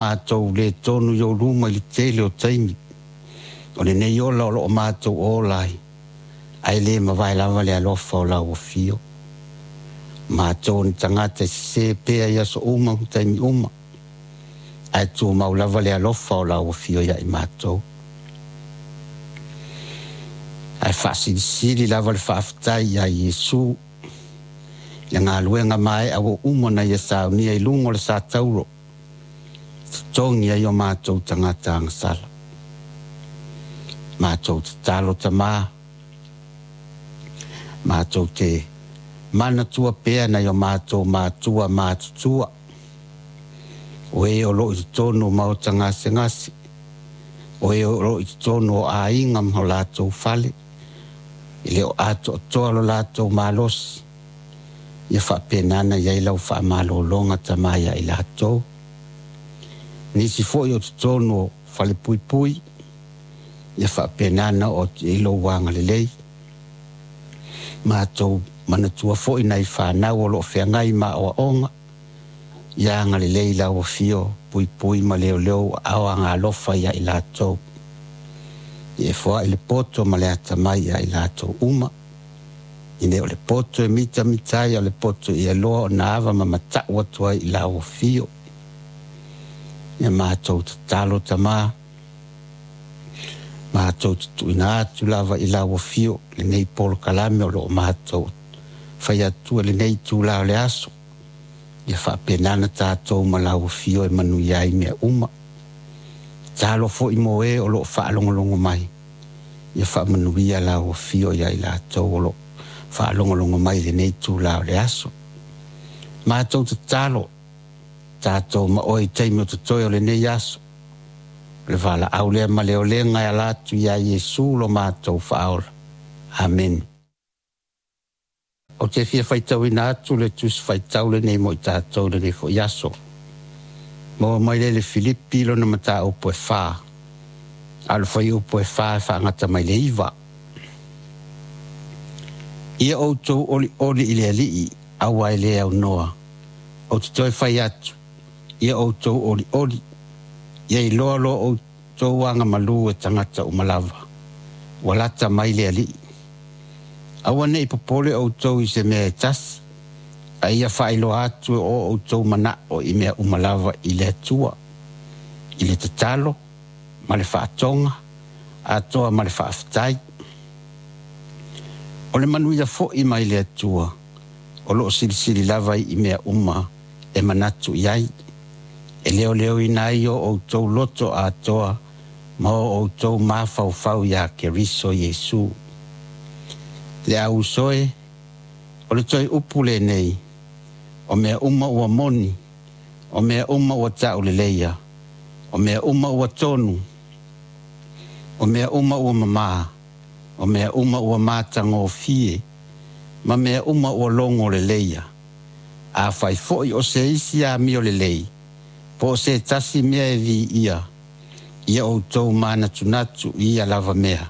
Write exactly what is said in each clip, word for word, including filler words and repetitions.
Matou le tonu i ou luma i le tele o taimi o lenei ola o loo matou ola ai, ae le mavae lava le alofa o lau afio. Matou o ni tagata e sese pea i aso uma ma taimi uma, ae tumau lava le alofa o lau afio ia i matou. Ae faasilisili lava le faafetai ia Iesu i le galuega mae'a ua uma ona Ia saunia i luga o le satauro e totogi ai o matou tagata agasala. Matou tatalo Tamā, matou te manatua pea nai o matou matua matutua o e o loo i totonu o maota gasegase, o e o loo i totonu o aiga ma o latou fale, e le o atoatoa lo latou malosi. Ia faapena ona i ai lau faamalologa Tama ia i latou. Nisi foi o totonu o falepuipui, ia faapena ona oo atu i ai lou agalelei. Matou manatua foi nai fanau o loo feagai ma aoaoga, ia agalelei lau Afio, puipui ma leoleo aao agaalofa ia i latou. Ia e foai le poto ma le atamai ia i latou uma, e le o le poto e mitamita ai, a o le poto ia iloa ona ava ma matau atu ai i lau Afio. Ia matou tatalo Tamā, matou te tuuina atu lava i lau Afio lenei polokalame o loo matou fai atu i lenei itula o le aso, ia faapena ona tatou ma lau Afio e manuia ai mea uma. Tatalo foi mo e o loo faalogologo mai, ia faamanuia lau Afio ia i latou o loo faalogologo mai i lenei itula o le aso. Matou tatalo tatou ma oe i taimi o totoe o lenei aso, o le valaau lea ma le olega e ala atu ia Iesu lo matou Faaola. Amene. Ou te fia faitauina atu le tusi faitau lenei mo i tatou i lenei foi aso. Maua mai lea i le Filipi lona mataupu e fa, a o le fuaiupu e fa e faagata mai le iva. Ia outou olioli i le Alii, aua e le aunoa. Ou te toe fai atu, ia outou olioli. Ia iloa lo outou agamalu e tagata uma lava. Ua lata mai le Alii. Aua ne i popole outou i se mea e tasi, a ia faailoa atu o outou manao i mea uma lava i le Atua, i le tatalo ma le faatoga, atoa ma le faafetai. O le manuia foi mai le Atua, o loo silisili lava i mea uma e manatu i ai, e leoleoina ai o outou loto atoa ma o outou mafaufau iā Keriso Iesu. Le au uso e, o le toe upu lenei, o mea uma ua moni, o mea uma ua tauleleia, o mea uma ua tonu, o mea uma ua mamā, o mea uma ua matagofie, ma mea uma ua logo leleia. Afai foi o se isi amio lelei, po o se tasi mea e viia, ia outou manatunatu i ia lava mea.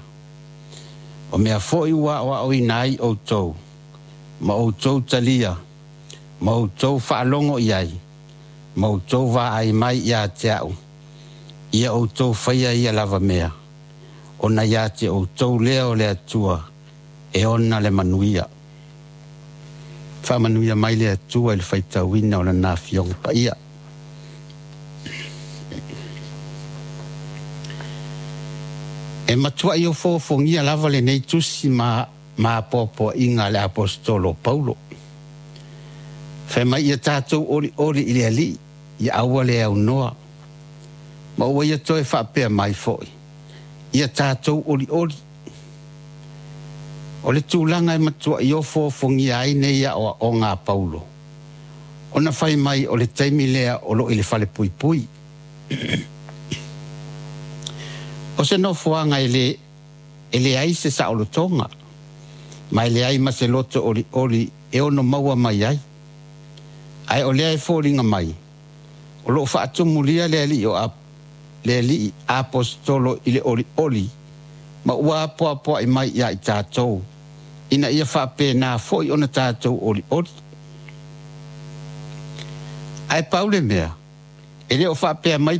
O mea foi ua aoaoina ai outou, ma outou talia, ma outou faalogo i ai, ma outou vaai mai ia te au, ia outou faia ia lava mea, ona ia te outou lea o le Atua e ona le manuia. Faamanuia mai le Atua i le faitauina o lana Afioga Paia. E matuai ofoofogia lava lenei tusi ma ma apoapoaiga a le Aposetolo o Paulo. Fai mai ia tatou olioli i le Alii, ia aua le aunoa, ma ua ia toe faapea mai foi, ia tatou olioli. O le tulaga e matuai ofoofogia ai nei aoaoga a Paulo, ona fai mai o le taimi lea o loo i le falepuipui. O se nofoaga e le e leai se saolotoga, ma e leai ma se loto olioli e ono maua mai ai. Ae o lea e foliga mai o loo faatumulia le alii o le alii aposetolo i le olioli ma ua apoapoai mai ia i tatou, ina ia faapena foi ona tatou olioli. Ae pau le mea, e le o faapea mai